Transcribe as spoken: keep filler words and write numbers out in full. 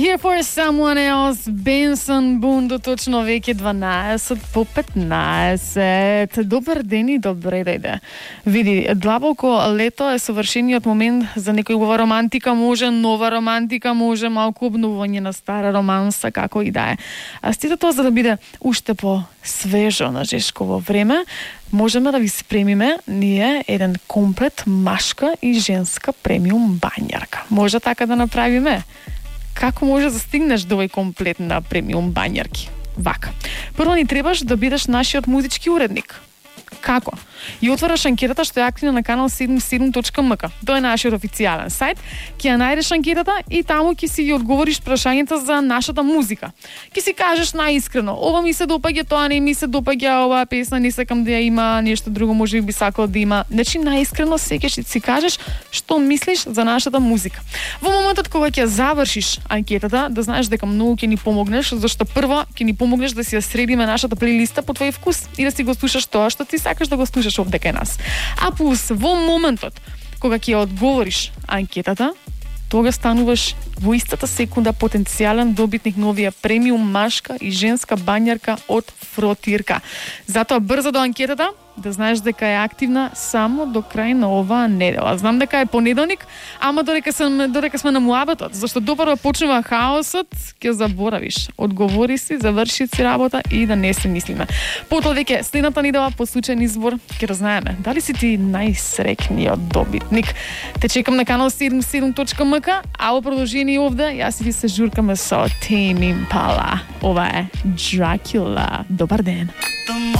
Here for someone else, Benson Boone, до точно веќе дванаесет по петнаесет. Добар ден и добре дојде. Види, длабоко лето е совршениот момент за некоја романтика, може нова романтика, може малку обновување на стара романса, како и да е. А сите тоа за да биде уште по свежо на жешково време, можеме да ви спремиме ние еден комплет машка и женска премиум бањарка. Може така да направиме? Како може да стигнеш до овој комплет на премиум бањарки? Вака. Прво ни требаш да бидеш нашиот музички уредник. Како? И отвараш анкетата што е активна на канал седумдесет и седум точка ем ка. Тоа е нашиот официјален сајт. Ќе ја најдеш анкетата и таму ќе си ги одговориш прашањата за нашата музика. Ќе си кажеш најискрено, ова ми се допаѓа, тоа не ми се допаѓа, оваа песна не сакам да ја има, нешто друго може би сакал да има. Значи најискрено секогаш ќе си кажеш што мислиш за нашата музика. Во моментот кога ќе завршиш анкетата, да знаеш дека многу ќе ни помогнеш, зашто прво ќе ни помогнеш да си ја средиме нашата плейлиста по твој вкус и да си го слушаш тоа што ти сакаш да го слушаш овде кај нас. А плюс, во моментот кога ќе одговориш анкетата, тога стануваш во истата секунда потенцијален добитник на овие премиум машка и женска бањарка од Фротирка. Затоа брзо до анкетата, да знаеш дека е активна само до крај на оваа недела. Знам дека е понеделник, ама додека сме додека сме на муабетот, зашто допрва почнува хаосот, ќе заборавиш. Одговори си, заврши си работа и да не се мислиме. Потоа веќе следната недела по случајен избор ќе разнаеме дали си ти најсреќниот добитник. Те чекам на канал седумдесет и седум точка ем ка, а во продолжение овде јас и ви се журкаме со Tame Impala. Ова е Dracula. Добар ден.